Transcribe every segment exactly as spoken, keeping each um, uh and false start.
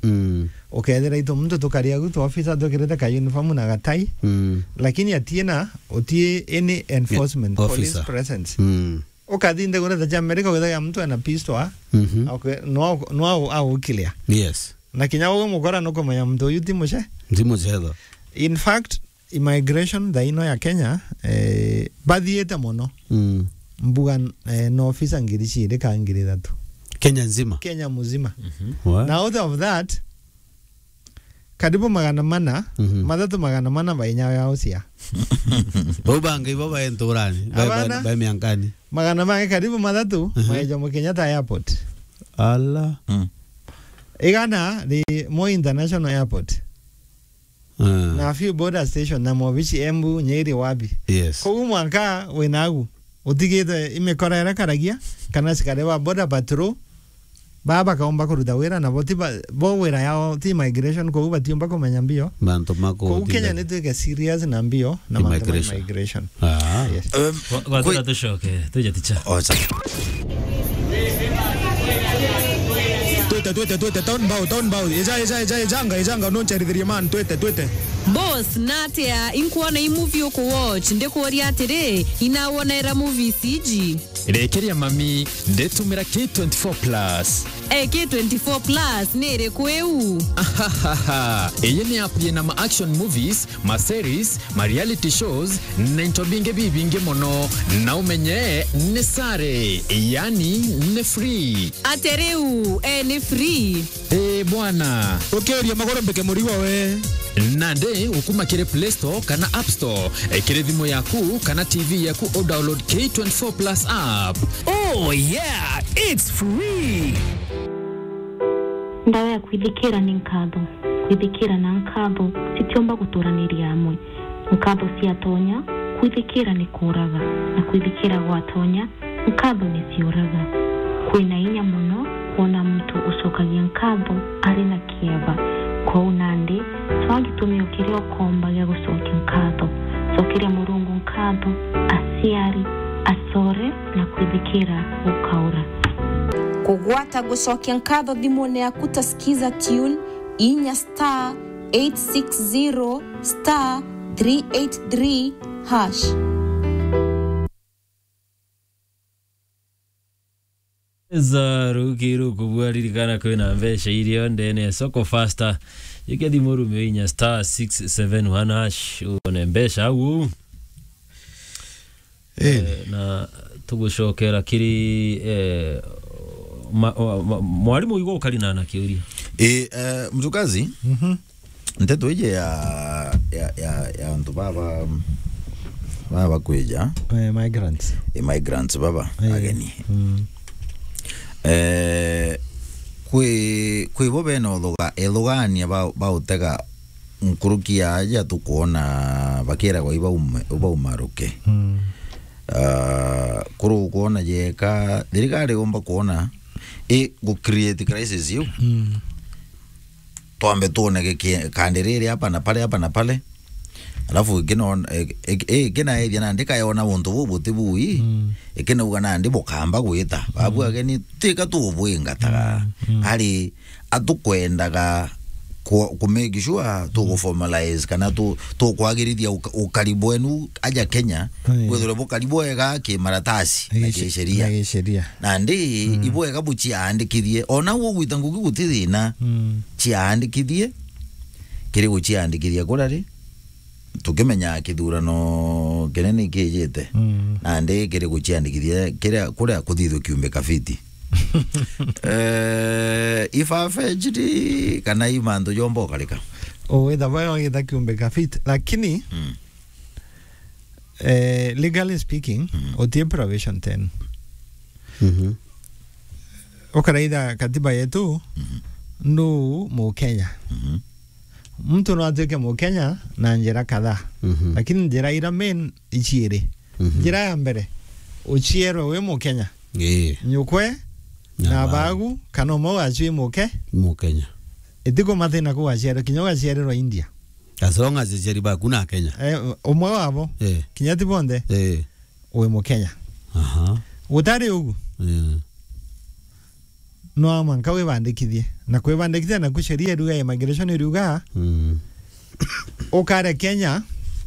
Mm. Ukethira itu muntu tukari agu tu officer twikirite ka uniform na gatai. Mm. Lakini atiena, utie any enforcement, police officer presence. Mm. Ukathi nthiguru ta cia America, withagira muntu ena pistol, ah? Mhm. Okay, no, no, au, au clear. Yes. Na kinya uwe mukora nukumenya muntu uyu ti muce. Ti mucetho. In fact, immigration thaa ino ya Kenya, eh, bathiite mono. Mm. Mbuga, eh, no officer ngiri ciiri ka ngiri ithatu. Kenya nzima? Kenya muzima. Mhm. Wa? Na out of that, karibu magana mana, mhm, mathatu magana mana ba inya yao cia. Bau bangi ibo bae nturani, bae, bae, abana, bae miankani. Magana mangi karibu mathatu, mhm, mae Jomo Kenyatta Airport. Ala. Mm. Igana ri Moi International Airport. Ah. Na a few border station na mobici Embu, Nyeri, wapi. Yes. Koguo mwanka wina agu, utigite imikora iria karagia, kana asikari ba border patrol, baa bakaumba kuruta wira, na bo ti ba, bo wira yao ti immigration, koguo batiumba kumenya mbio. Mantu ma koguo Kenya kutinda nitwike serious na mbio na mantu ma immigration. Immigration. Ah. Yes. Um, gwa-, gwatira kwi- tucoke, tuje ticha. Oh, sorry. Twete, twete, twete, town bow, town bow. Eja, eja, eja, ejanga, ejanga, noncherithirie man, twete, twete. Boss, natia, inkuona i movie uku watch, ndikuuria atiri, inawonera movies iji? Rekeria mami, nditumira K twenty-four plus. Eh, K twenty-four plus ni iriku iu? Ahahaha. Iyi ni app yina ma action movies, ma series, ma reality shows, na into bingi bibingi mono. Na umenye ni sare, yani ni free. Ate riu, eh, ni free? Ee bwana. Ukiuria maguru mbike murigo we. Nandi ukuma kiri Play Store kana App Store, eh, kiri thimu yaku kana T V yaku, u download K twenty-four plus app. Oh yeah, it's free. Ndawa ya kwithikira ni nkatho. Kwithikira na nkatho citiumba guturaniria amwe. Nkatho ciatonya, kwithikira ni kuuraga, na kwithikira gwatonya, nkatho ni ciuraga. Kwina inya mono kwona muntu ucokagia nkatho ari na kieba. Kwou nandi, cwaa gitumi o kiria ukomba gia gucokia nkatho. Cokeria Murungu nkatho, aciari, acore, na kwithikira gukaura. Kugwata gucokia nkatho thimune yaku ta Skiza Tune, inya star eight six zero star three eight three hash. Za ruki ruku bwa ririkana kwina mbeca iria ndene ya soko faster. Yeke thimu rume inya star six seven one hash, uone mbeca au. Eh. Eh, na tugucokera kiri, eh, ma-, ma-, ma-, mwarimu, igwa ukari na, na kiuria. Eh, eh, mtukazi, mhm, nteto iji ya, ya, ya, ya antu baba, baba kwija. Eh, migrants. Eh, migrants baba, eh, ageni. Mm. Eh, kwi, kwi bo bena uthuga-, ethugania ba, ba utega nkuruki ya aja tukwona bakiragwa ibaume-, ibaumaruke. Mm. Ah, kuru ukwona jeka, thirikari yumba kwona i gu create crisis iu. Mm. Twambe tuone giki-, kandi riri hapa na pale, hapa na pale. Alafu ikina-, ik-, ik-, ikinaethia nandi kayona untu buu buti bui, mm, ikinauga nandi bukamba gwita. Babu, mm, ageni, tika tubwingataga. Mm, mm. Ari atukwendaga ku, ku make sure tugu formalize kana tu, tukwagirithia uka-, ukari bwenu aja Kenya, mm, bwithirwe bukari bwega kimaratasi na gisheria. Na gisheria. Nandi, mm, ibwega buciandikithie. Ona ugwita ngugi guti thina, mm, ciandikithie. Kiri guciandikithia kurari, tukimenya kithurano kinene kijite. Mm. Nandi kiri guciandikithia kiria, kuria kuthithwe kiumbe kafiti. Eh, i far-fetched kana i mantu jomba ukarika? O, witha bayo witha kiumbe kafiti, lakini, mm, eh, legally speaking, mm, utie provision ten. Mhm. Ukaraitha katiba yetu, mhm, ndu Mukenya. Mhm. Muntu no atuike Mukenya na njira kadhaa. Mhm. Lakini njira ira main iciiri. Mhm. Njira ya mbere, uciarwe wi Mukenya. Ii. Nyukwe, na, na bagu, kana umwe wacio i Muke-, Mukenya. Itikumathina ku waciarwe, kinya ugaciarirwa India. As long as aciari baku na Kenya. Eh, umwe wabo, eh, kinya ti bonthe, eh, wi Mukenya. Aha. Gutari ugu, eh, no mwanka wibandikithie. Na kwibandikithia naku sheria iruga, immigration iruga, Mm. ukare Kenya,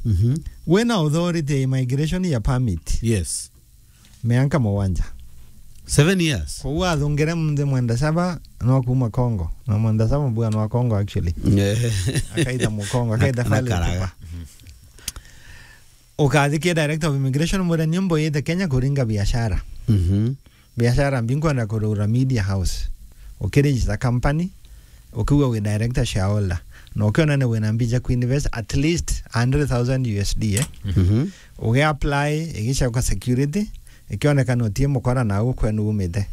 Mhm. wina authority ya immigration ya permit. Yes. Mianka mugwanja. Seven years. Kwou athungire munthi Mwenda Saba no kuma Congo. Na Mwenda Saba mbua no Congo actually. Eh. Akaitha Mukongo, Na, akaitha na Fally Karaga. Ipupa. Ukathikia Director of Immigration, mwire, "Ni mboyite Kenya kuringa biashara. Mhm. Biashara mbi, nkwenda kurugura media house." Ukiregister company, ukiuga wi director shareholder. Na ukiona ni wina mbija kuinvest at least a hundred thousand U S D, eh? Mhm. Ugi-apply, igicoka security, ikionekana utie mukora na au kwenu umite.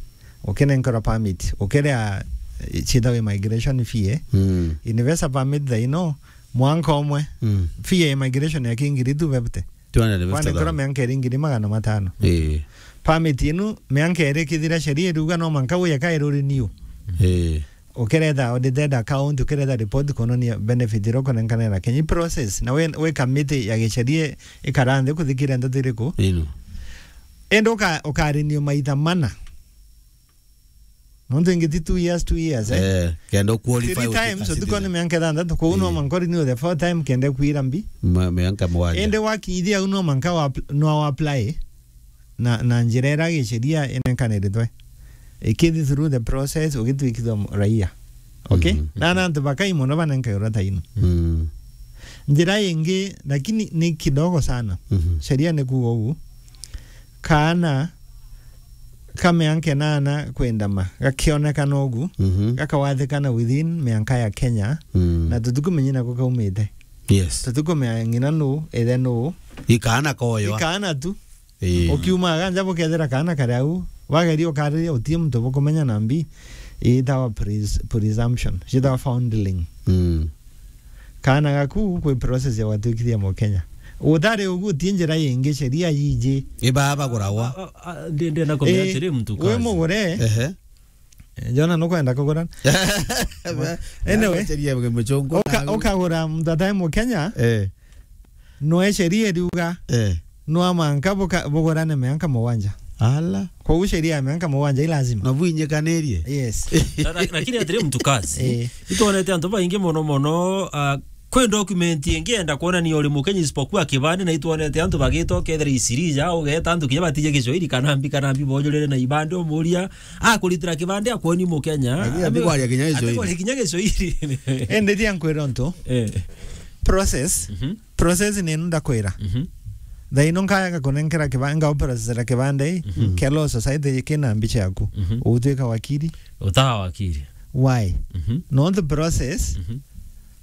Ukinenkerwa permit, ukiria, eh, ciitagwa immigration fee, eh? Mm. Investor permit thaino, mwanka umwe. Mm. Fee ya immigration ya kingiri tu fifty. Two hundred and fifty thousand. Kwanenkerwa mianka iri ngiri magana matano. Eh. Permit inu, mianka iri ikithira, sheria iruga no mwanka uye kairi renew. Eh. Ukiretha audited account, ukiretha report kuonania benefit iria ukunenkanira Kenya. I process, na wi, wi committee ya gisheria ikara nthi kuthikira ndeto iriku. Ino. Indi uka-, ukarenew maita mana. Nontu ingi ti two years, two years, eh? Eh, kenda u-qualify. Three times, utuike utuko ni mianka ithanthatu, kwou no mwanka urenew the fourth time kenda kwira mbi. Ma-, mianka mugwanja. Indi wakinyithia au no mwanka wa-, no apply. Na, na njira iria gisheria inenkanirithwe. Ikithi through the process, ugitwikithwa m-, raia. Okay? Mhm. Na, na antu bakai mono banenkairwa ta ino. Mm. Njira ingi, lakini ni kidogo sana. Mhm. Sheria ni kuuga ugu. Kaana ka mianka inana kwendama, gakionekana ugu, Mhm. gakawathikana within mianka ya Kenya, Mm. na tutikumenya nako kaumite. Yes. Tutikumenya ng'ina nu, ithe nu. I kaana koywa. I kaana tu. Ii. Ukiumaga nja bukethira kaana kari au, wageria ukariria, utie muntu bukumenya na mbi, iitawa pres-, presumption, ciitawa foundling. Mm. Kaana gaku kwi process ya gwatwikithia Mukenya. Utari ugu, utie njira ingi, sheria yiji. I baba gurawa. A, a, a, ndi-, ndenda kumenya Ii, atiri, muntu wi kazi. Mugure. Ehe. Eh, Jona nukwenda kugura. Anyway, Acheria muchungu uka-, na ukagura muntu atai Mukenya, Eh. No sheria iriuga, Eh. no mwanka buka-, bugurane mianka mugwanja. Ala. Kwou sheria ya mianka mugwanja i lazima. Na bwinyikanirie. Yes. Na, na, lakini atiri, mtu kazi. Eh. Itwonete antu baingi mono mono, ah, kwi document ingi enda kuonania uri Mukenya isipokuwa kibande, na itwonete antu bagitwa kethira isirija, ugeta antu kinya batije Kiswahili kana mbi kana mbi, bojurire na ibande, umuria, akuritira kibande, akuoni Mukenya. Lakini atikwaria kinya Kiswahili. Atikwaria kinya Kiswahili. Ende thia nkwira untu. Eh. Process. Mhm. Process ni ino ndakwira. Mhm. Thaino nkaega kunenkera kibande, ngauprocessera kibande, Mhm. kia Law Society kina mbicha yaku. Mhm. Ugutwika wakiri? Utaa wakiri. Why? Mhm. Nontu process, Mhm.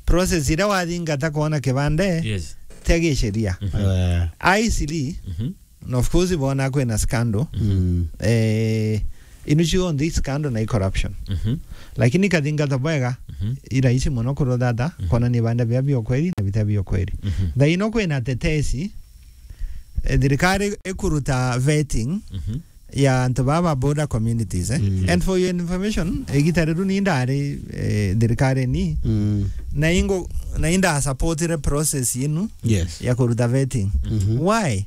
process iria wathingata kwona kibande, Yes. tia gisheria. Mhm. Eh. Aisili, Mhm. Na of course, bona kwina scandal. Mm. Eh, inu cionthe i scandal na i corruption. Mhm. Lakini kathingata bwega, Mhm. i rahisi mono kuruthata, Mhm. kona ni banda bia bia ukweli na bita bia ukweli. Mhm. Thaino kwina tetesi, eh, thirikari ikuruta vetting Mhm. ya antu baba border communities, eh. Mm. And for your information, igita riru ni ndari, eh, thirikari ni. Mm. Na ingo, na inda supportire process inu Yes. ya kuruta vetting. Mhm. Why?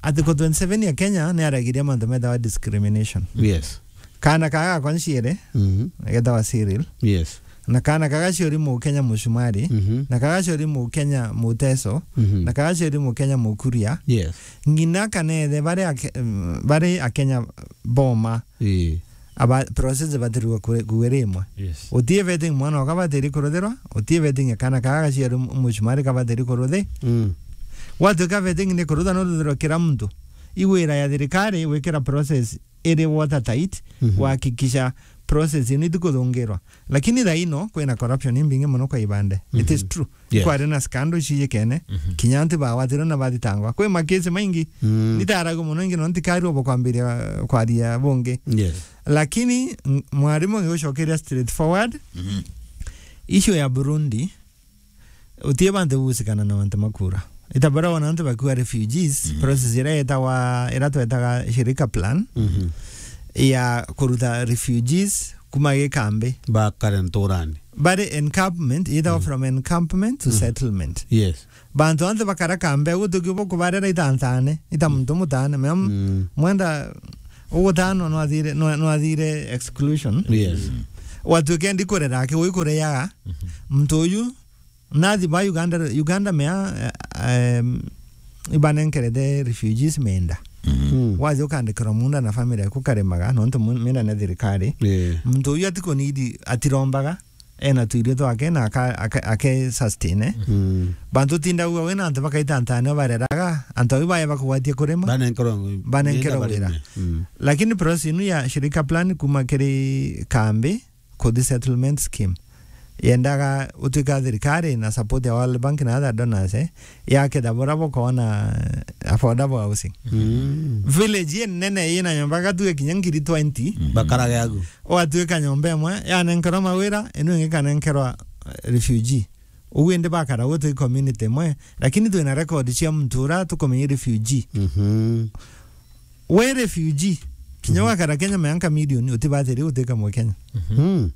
Article twenty-seven ya Kenya ni aragiria mantu metawa discrimination. Yes. Kana kaga gakwa nciere, Mhm. getawa Cyril. Yes. Na kana kaga ciori Mukenya Mucumari. Mhm. Na kaga ciori Mukenya Muteso. Mhm. Na kaga ciori Mukenya Mukuria. Yes. Ng'ina kana ithe bari ake-, mm, bari Akenya boma. Ii. Aba process batirwa kwe-, kuwe rimwe. Yes. Utie vetting mwana waka batiri kuruthirwa, utie vetting kana kaga gaciari mu-, mucumari kabatiri kuruthi. Mm. Gwatuika vetting ni kurutha no ruthirwa kira muntu. Iwira ya thirikari wikira process iri watertight, Mhm. kuhakikisha process ino itikuthungirwa. Lakini thaino kwina corruption imbingi mono kwa ibande. It is Mhm. true. Yes. Kwari na scandal cijikene, Mhm. kinya antu bagwatirwe na bathitangwa. Kwi makesi maingi, Mm. nitaragu mono ingi no ntikarua bo kwambiria kwaria bungi. Yes. Lakini, m-, mwarimu ngigucokeria straightforward. Mhm. Issue ya Burundi, utie bantu gusikana na bantu makura. Itabara wana antu bakua refugees, Mhm. process ira yetawa, ira twetaga shirika plan, Mhm. ya kuruta refugees kuma gikambi. Bakare nturani. Bari encampment, yetawa Mm. from encampment to Mm. settlement. Yes. Bantu anthe bakara kambe, gutuki bo kubarera itantane, ita muntu mutane, mea m-, Mm. mwenda Ugutano nwathire, nwa-, nwathire exclusion. Yes. Watuike ndikurera aki wi kureaga. Muntu uyu nathi ba Uganda, Uganda mea, eh, em, ibanenkerete refugees menda. Mm. Wathi ukandikirwa munda na family yaku karemaga, nontu mu-, menda na thirikari. Yeah. Muntu uyu atikunidi, atirombaga, ena tuirio twake na aka-, aka-, ake sustain. Mm. Bantu tinda ugwa wina antu bakaita ntane bareraga, antu au bae bakugwatia kurima. Banenkerwa, banenkerwa wira. Mm. Lakini process inu ya shirika plan kuma kiri kambi, kuthi settlement scheme. Yendaga utwika thirikari na support ya World Bank na other donors, eh, yake thabura bukona affordable housing. Mm. Village ye nene yina nyomba gatue kinya ngiri twenty. Mm. Bakarage agu. Watwika nyomba imwe, yanenkerwa mawira, inu ingi kanenkerwa, eh, refugee. Ugu indi bakara gwe twi community imwe, lakini twina record cia muntu ura tukumenya refugee. Mhm. We refugee, kinya wakara Kenya mianka milioni, utibatiri gutwika Mukenya. Mm.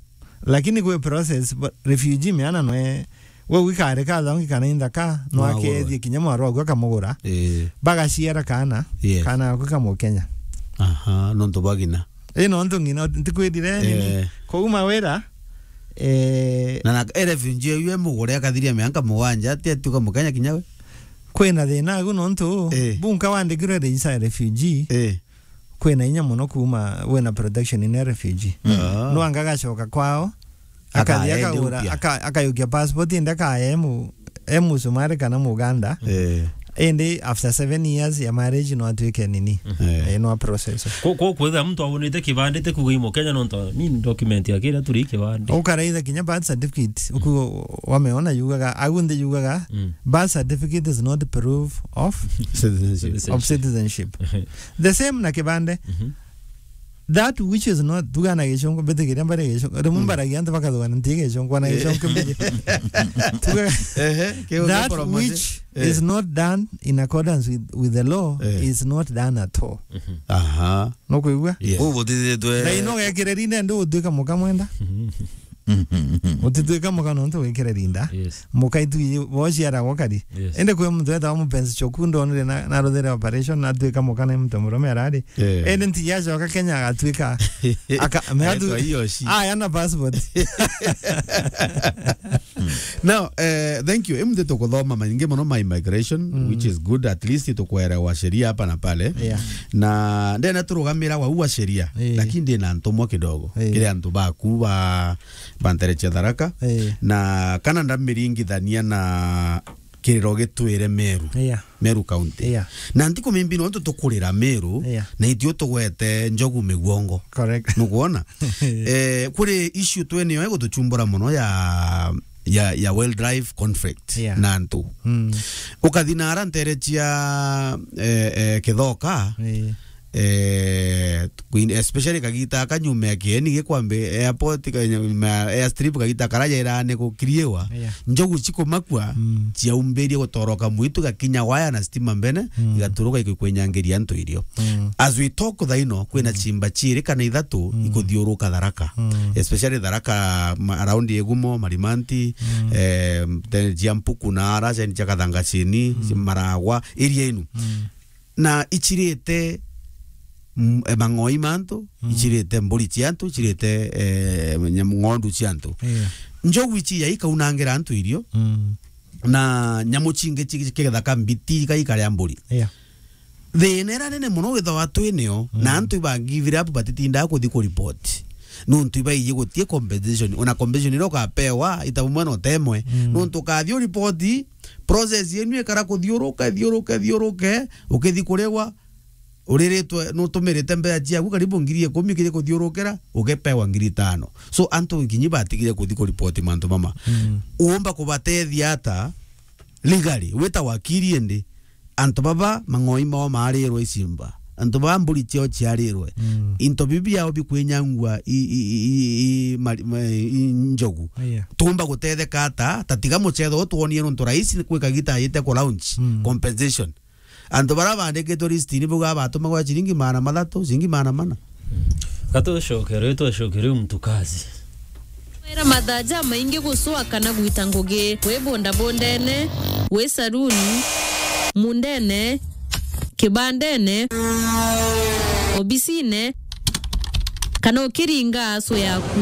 Lakini kwi process, ba-, refugee miana nwe, we wikare ka thongi kana inthaka, no akethie kinya mwaru waku akamugura. Eh. Bagaciara kana, yes, kana gaku ka Mukenya. Aha, nontu bagina. Ii, nontu ngina, ntikwirire nini? Eh. Kouma wira, eh, na, na, e refugee uyu e mugure akathiria mianka mugwanja, ati atuka Mukenya kinya we? Kwina thina agu nontu, eh, bunka wandikirwe register ya refugee, eh, kwina inya mono kuuma wina protection ine refugee. Ah. No anga gacoka kwao, akathi akagura, aka-, akayukia passport indi akaya e mu-, e musumari kana muganda. Eh. Indi after seven years ya marriage no atwike nini? Eh. Eh, no process. Ku-, ku-, kwithira muntu abonete kibande te kuga i Mukenya nontu ni document ya kira turi kibande. Ukaraitha kinya birth certificate, uku wameona yugaga, agu nthi yugaga, mm, birth certificate is not proof of citizenship. Of citizenship. The same na kibande. Mhm. That which is not, tugana Gicungu, mbitikiria mbari Gicungu. Rimwe, mm, mbaragia antu bakathugana nti Gicungu, na, eh, Gicungu mbiji. Tuga-, ehe, kiu that gikoro maji, which, eh, is not done in accordance with, with the law, eh, is not done at all. Mhm. Aha. Nukwigua? Yes. Kuu butithitwe. Na ino gekire rinde ndi utwika muka mwenda. Utitwika muka nontu wikire rinda. Yes. Muka itu bo ciaragwa kari. Yes. Indi kwi muntu wetagwa mupenzi choku ndonire na, na ruthire operation na atwika muka na muntu murume arari. Eh. Indi nti yacoka Kenya agatwika. Aka-, me atu-, aetwa Iyoshi. Aya na passport. Now, eh, thank you. Imu nthi tukuthoma maingi mono ma immigration, mm, which is good. At least tukwerewa sheria hapa na pale. Yeah. Na ndena turugamira wa ua sheria, eh, lakini ndina ntumwa kidogo. Eh. Kiri antu baku ba, bantereche Tharaka. Eh. Na kana ndamiringithania na kiriro gitwire Meru. Yeah. Meru County. Yeah. Na ntikumimbi nontu tukurira Meru, yeah, na itio tugwete njogu miguongo. Correct. Nukwona? Eh, kuri issue twene yo igutuchumbura mono ya, ya, ya wildlife conflict, yeah, na antu. Mm. Ukathi na ara ntere cia, eh, eh, Kithoka, yeah, eh, kuin-, especially kagita aka nyuma ya kieni gikwambi airport, ka-, nyuma ya airstrip kagita kara jairane gukiriwa, yeah, njogu cikumakua, mm, ciaumbirie gutoroka mwitu gakinya waya na stima mbene, mm, igaturuka ikikwenyangiria antu irio. Mm. As we talk thaino, kwina, mm, chimba chiiri kana ithatu, mm, ikuthiuruka Tharaka. Mm. Especially Tharaka, ma-, around Igumo, Marimanti, mm, eh, then cia Mpuku na ara, cia Kathanga chini, mm, Maragwa, area inu. Mm. Na ichirite, mm, eh, mang'oi ma antu, mm, ichirite mburi cia antu, ichirite, eh, nyam-, ng'ondu cia antu. Yeah. Njogu ichi ya ikaunangira antu irio, mm, na nyamu chingi chi-, chi-, kigethaka mbiti iga ikaria mburi. Yeah. Thina ira nene mono withawa twinio, mm, na antu iba give up batitindaa kuthi ku report. Nontu ibaiji gutie compensation. Ona compensation iria ukapewa, ita bumwe na utemwe. Mm. Nontu ukathi u report, process yenu ikara kuthiuruka, ithiuruke, ithiuruke, ukithi kurigwa, uriritwe, nutumirite mbeca ciaku karibu ngiri ikumi kiri kuthiurukira, ugepewa ngiri itano. So, antu kinyi batigire kuthi ku report mantu mama. Mm. Uumba kubatethia ata? Legally, wita wakiri indi, antu baba mang'oi mao maarirwe icimba, antu baba mburi ciao ciarirwe, mm, into biu biao bikwinyangua i, i, i, i, i, mari-, ma-, i njogu. Yeah. Tuumba gutetheka ata? Ta tiga mucetho uyu twonie nontu rais ni kwika gita ajite ku launch, mm, compensation. Antu baria baandikitwe list ni bauga batumagwa ciringi magana mathatu, ciringi magana mana. Gatucokere, twacokere muntu kazi. Wira mathaa jamaingi gucwa kana gwita ngugi, wi bondabondene, wi saruni, mundene, kibandene. obisine, kana ukiringa aso yaku.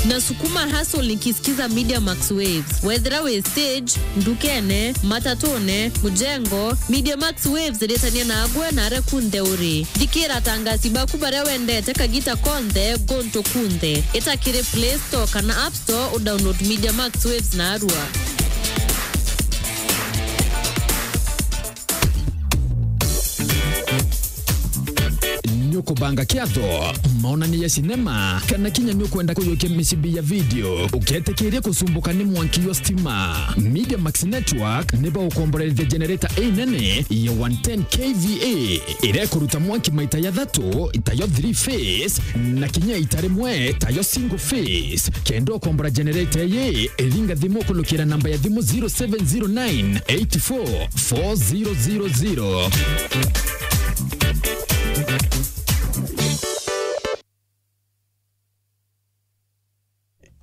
Na sukuma hustle nikisikiza Media Max Waves. Wethira wi stage, ndukene, matatune, mujengo, Media Max Waves iritania nagwe na aria kunthe uri. Thikira atangasi baku baria wendete kagita konthe, guntu kunthe. Ita kiri Play Store kana App Store udownload Media Max Waves narua. Nukubanga kiatho, maonania ya sinema, kana kinya nukwenda kuyukia micibi ya video, uketikiria kusumbuka ni mwanki wa stima? Media Max Network ni baukomborerithia generator inene ya one ten K V A, iria ikuruta mwanki maita jathatu, tayo three phase, na kinya ita rimwe, tayo single phase. Kenda ukombora generator ii, ringa thimu kulukira namba ya thimu zero seven zero nine eight four four zero zero zero.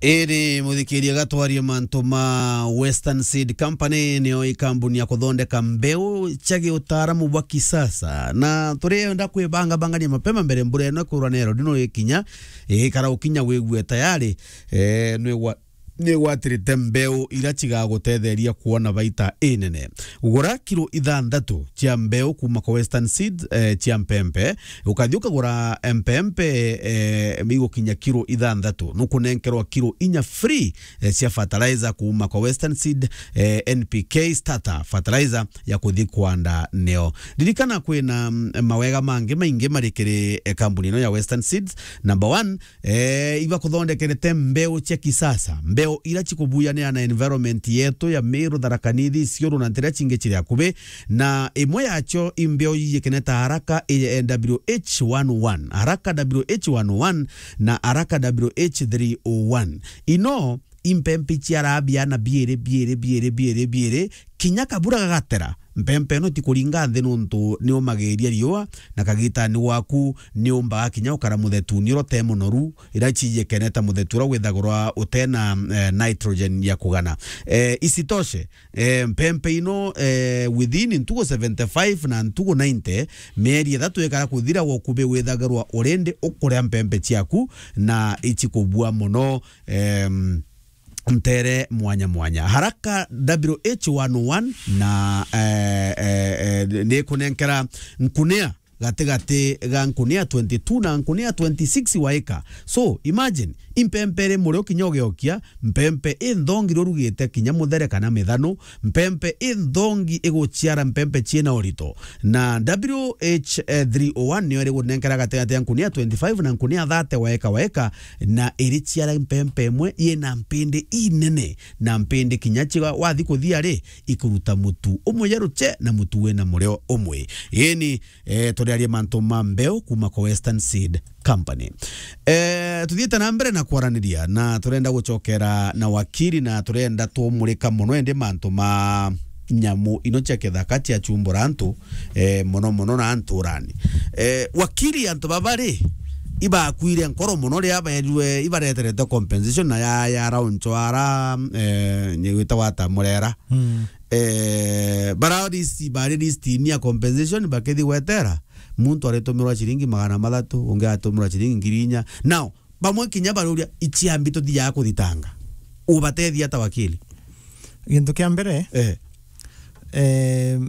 Iri muthikiria gatwarie mantu ma Western Seed Company, nio ikambuni ya kuthondeka mbeu cia giutaaramu bwa kisasa, na turienda kwibangabangania mapema mbere mbura ino kurwa nero ndino ikinya, ikara ukinya wigue tayari, eh, nigwa nigwatirite mbeu iria cigagutetheria kuona baita inene. Gura kilo ithanthatu cia mbeu kuuma kwa Western Seed, eh, cia mpempe. Ukathi ukagura mpempe, eh, igukinya kilo ithanthatu, nukunenkerwa kilo inya free, eh, cia fertilizer kuuma kwa Western Seed, eh, N P K starter fertilizer ya kuthi kwanda neo. Ririkana kwina, mm, mawega mangi maingi mari kiri, eh, kambuni ino ya Western Seeds. Number one, eh, ibakuthondekerete mbeu cia kisasa, mbeu ira cikubuyanira na environment yetu ya Meru, Tharaka Nithi, Isiolo na nteere cingi ciri akubi, na imwe yacio i mbeu yiikeneta haraka, i W H one oh one, haraka W H one oh one na haraka W H three oh one. Ino impempe iciaraa biana biiri, biiri, biiri, biiri, biiri, kinya kabura gagatera. Mpempe ino tikuringa nthi nontu niumagiria riua, na kagitani gwaku niumbaga kinya ukara muthetuni uria ute munoru, ira ciikeneta muthetu uria withagirwa utena, eh, nitrogen ya kugana. Eh, isitoshe, eh, mpempe ino, eh, within ntugu seventy five na ntugu ninety, mieri ithatu ikara kuthira, wokubi withagirwa already ukuria mpempe ciaku na icikubua muno, em, nteere mwanya mwanya. Haraka W H one oh one na, eh, eh, eh, nikunenkera nkunia gatigati ga nkunia twenty two na nkunia twenty six wa ika. So, imagine, impempe iri murio kinya ugiokia, mpempe inthongi riurugite kinya muthere kana mithano, mpempe inthongi iguciara mpempe ciina urito. Na W H three oh one niyo iri gunenkera gatigati ya nkunia twenty five na nkunia thirty wa eka wa eka, na iriciara mpempe imwe yina mpindi inene, na mpindi kinya ciga wathi kuthia ri, ikuruta mutu umwe ya ruche na mutu wina murio umwe. Ini, eh, turiaria mantu ma mbeu kuma kwa Western Seed Company. Eh, tuthiite na mbere na kwaraniria, na turenda gucokera na wakiri, na turenda tumurika muno indi mantu ma nyamu ino cia kithaka cia chumbura antu, eh, muno muno na nturani. Eh, wakiri, antu baba ri, ibakwire nkoro muno ria baerue ibareterete compensation na ya, ya rauncho ara, eh, nyigwita wata murera. Mm. Eh, bara list, bari list ni ya compensation, bakithi gwetera, muntu aritumirwa ciringi magana mathatu, ungi atumirwa ciringi ngiri inya. Now, bamwe kinya baruria, iciambi tuthiaga kuthitanga. Ubatethia ata wakili? Gintu kia mbere, eh, eh,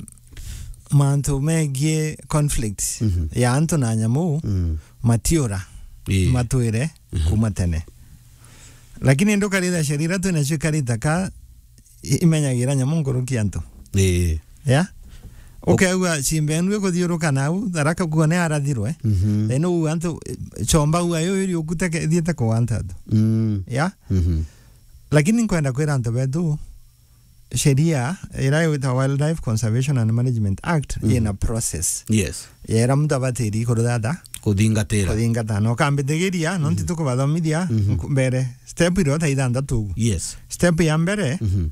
mantu megie conflict, mhm, ya antu na nyamu, mm, matiura, ii, matwire, mhm, kuma tene. Lakini ndukaritha sheria iria twinacio ikarita ka i-, imenyagira nyamu nkuruki antu. Ii. Ya? Ukeigua cimba enu ikuthiuruka nau, Tharaka kuo ni arathirwe. Mhm. Then uu antu, eh, chomba uu ayo iri ukute ke-, ithiite kugwanta antu. Mm. Ya? Mhm. Lakini nkwenda kwira antu betu, sheria ira igwitwa Wildlife Conservation and Management Act, mhm, ina process. Yes. Yera muntu abatiri kuruthatha. Kuthingatira. Kuthingata. Na ukambitigiria, nontu, mhm, tukubathomithia, mhm, nku-, mbere. Step iria ta ithanthatu ugu. Yes. Step ya mbere, mhm,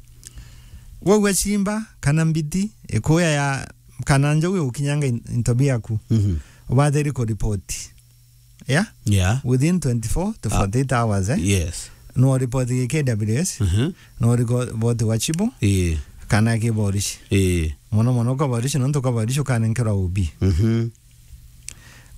waigua chimba, kana mbiti, ikuya ya, kana njogu igukinyanga in-, into biaku. Mhm. Ubatiri kuripoti. Yeah? Yeah. Within twenty-four to, ah, forty-eight hours, eh? Yes. No report ki K W S, mhm, no report wa chibu, ii, kana ki borisi. Ii. Mono mono ka borisi, nontu ka borisi ukanenkerwa O B. Mhm.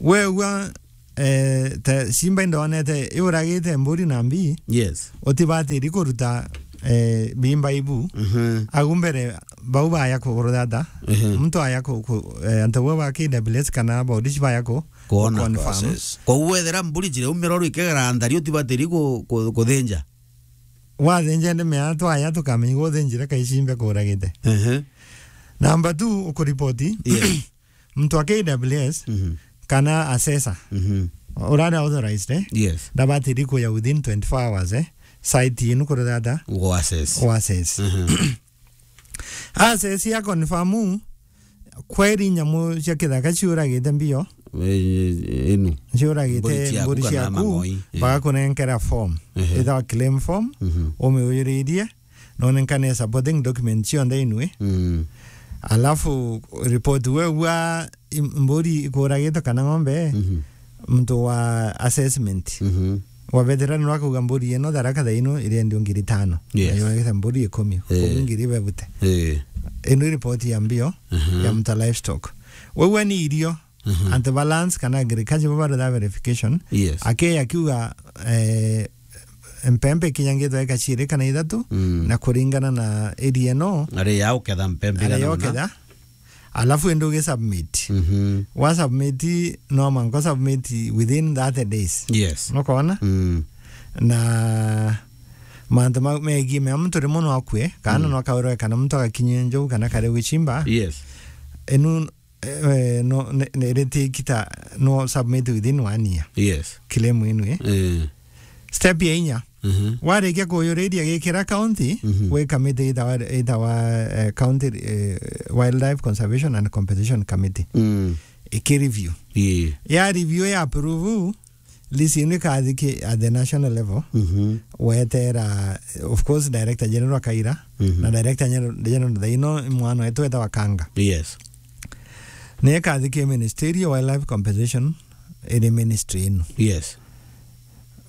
Weugua, eh, ta simba indonete iuragite mburi na mbii, Yes. utibatiri kuruta, eh, bimba ibu. Mhm. Agu mbere bau baya kuruthata. Mhm. Muntu aya ku, ku, eh, antu bau ba K W S kana bodici baya ku, Kuona ku confirm. Process. Kwa uwethera mburi jire umiro rwikegera nthari utibatiri ku, ku, kuthinja. Wathinja ndi mea twaya tukamenya guthinjire kaicimbe kuragite. Mhm. Number two, ukuripoti. Yes. Muntu wa K W S Mhm. kana assessor Mhm. urari authorized, eh? Yes. Ndabatiri kuya within twenty-four hours, eh? Site yenu kuruthata Go assess. Go assess. Mhm. Assess ya confirm kweri nyamu cia kithaka ciuragite mbio. Eh, inu. Ciuragite Mburi ciaku mburi kana ciaku, mang'oi. Eh. Bagakunenkera form. Ehe. Ithawa claim form, Mhm. umiujuririe, nonenkane supporting document cionthe inui. Mm. Alafu report weugua im-, mburi ikuragitwe kana ng'ombe, Mhm. muntu wa assessment. Mhm. Wabethira nwa kuga mburi ino Tharaka thaa ino irendio ngiri tano. Yes. Na yogete mburi ikumi, Eh. koguo ngiri bebute. Eh. Ino report ya mbio, Mhm. ya mta livestock. Weugua ni irio, Mhm. anti balance kana agriculture bo barutha verification. Yes. Ake akiuga, eh, mpempe ikinyangitwe eka ciiri kana ithatu, Mm. na kuringana na area ino, Ari ya uketha mpempe ari igana ya una. Uketha. Alafu indi ugi submit. Mhm. Wa submit, no manko submit within thirty days. Yes. Nukona? Mm. Na mantu mau megie mea muntu rimwe no akue, kana Mm. no akaurwe kana muntu agakinyia njou kana kare gwicimba. Yes. Inu, eh, no, ne, ne, riti kita no submit within one year. Yes. Claim inu, eh. Eh. Step ya inya. Mhm. Warikia kuyuriria gikira county, Mhm. gwi committee itawa, itawa, eh, county, eh, Wildlife Conservation and Compensation Committee. Mm. Iki review. Ii. Ya review ya approve, list ino ikathi ki at the national level. Mhm. Wetera, of course, Director General Kaira, Mhm. na Director General, General thaino mwana wetu wetawa Kanga. Yes. Ni ikathi ki ministry ya Wildlife Compensation, iri ministry ino. Yes.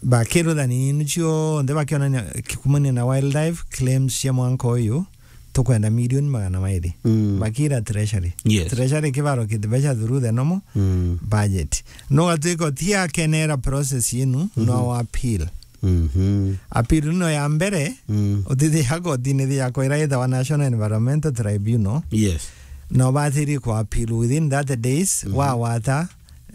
Bakiruthania inu cionthe bakionania kikumania na wildlife claims cia mwanka uyu, tukwenda milioni magana mairi. Mm. Bakira treasury. Yes. Treasury kibarokite mbeca through the normal Mm. budget. No gatwika utia kenera process inu, Mhm. no appeal. Mhm. Appeal no ya mbere, Mm. utithia kotini thia kwira itawa National Environmental Tribunal. Yes. No batiri ku appeal within thirty days, Mhm. wawata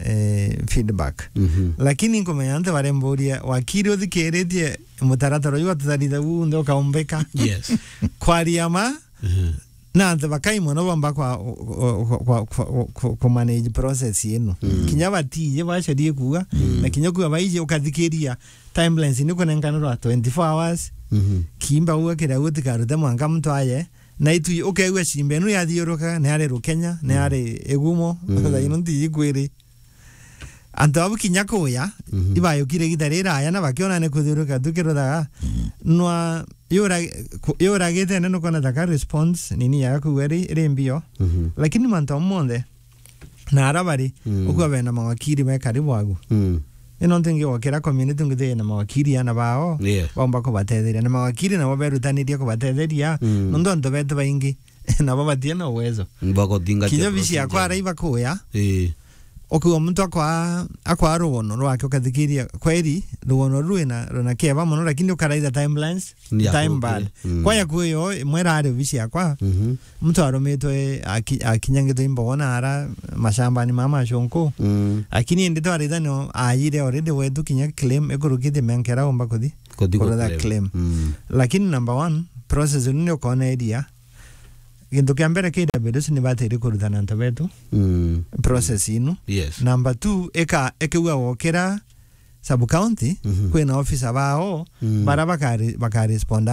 eh, feedback. Mhm. Lakini nkumenya antu baria mburia, wakiri uthikiritie mutaratara uyu wa tutharita unthe ukaumbika. Yes. Kwaria ma, Mhm. na antu bakai mono bomba kwa, kwa, kwa, kwa, kwa, kwa, ku manage process ino. Mm. Kinya batiji bacarie kuuga, Mm. na kinya kuuga baiji ukathikiria timelines ni kunenkanirwa twenty-four hours. Mhm. Kimba uga kiria utikarute mwanka muntu aye, na itu ukeigua cimba inu yathiuruka, ni ari Rukenya, ni Mm. ari Igumo, Mm. thaa ino ntiji kwiri. Antu abu kinya kuya, Mhm. ibayukire igita riraya na bakiona ni kuthiuruka tukiruthaga. Mhm. Nwa yura-, ku-, yuragite nene nukona taka response nini ya kuuga ri, ri mbio. Mhm. Lakini mantu amwe monthe, na ara bari, Mm. ukua bena mawakiri me karibu agu. Mm. Ino ntu ingi gwakira community ngithi na mawakiri ana bao, Yes. baumba kubatetheria. Na mawakiri nabo berutanirie kubatetheria, Mm. nontu antu betu baingi, nabo batie na uwezo. Bagotinga Kinya cia bici yakwa procedure. Araiba kuya, Ii. Ukiuga muntu akwa, akwa rugono rwake ukathikiria, kweri, rugono rwina, rwina kieba mono, lakini ukaraitha timelines, Ni ya time ku-, bad. Mm. Kwa ya kuyo, imwe irari obici yakwa, Mhm. muntu arumitwe aki-, akinyangitwe imbogo na ara mashambani mama mashonko. Mm. Lakini indi twaritha no ayire already wetu kinya claim ikurukite mianka ira umba kuthi. Kuthi ku Kurutha claim. Claim. Mm. Lakini number one, process ino ni ukona iria. Gintu kia mbere K W S ni batiri kurutana antu betu. Mm. Process ino. Yes. Number two, ika, ikiuga wokira sub county, Mhm. kwina officer bao, Mm. bara bakari-, bakaresponda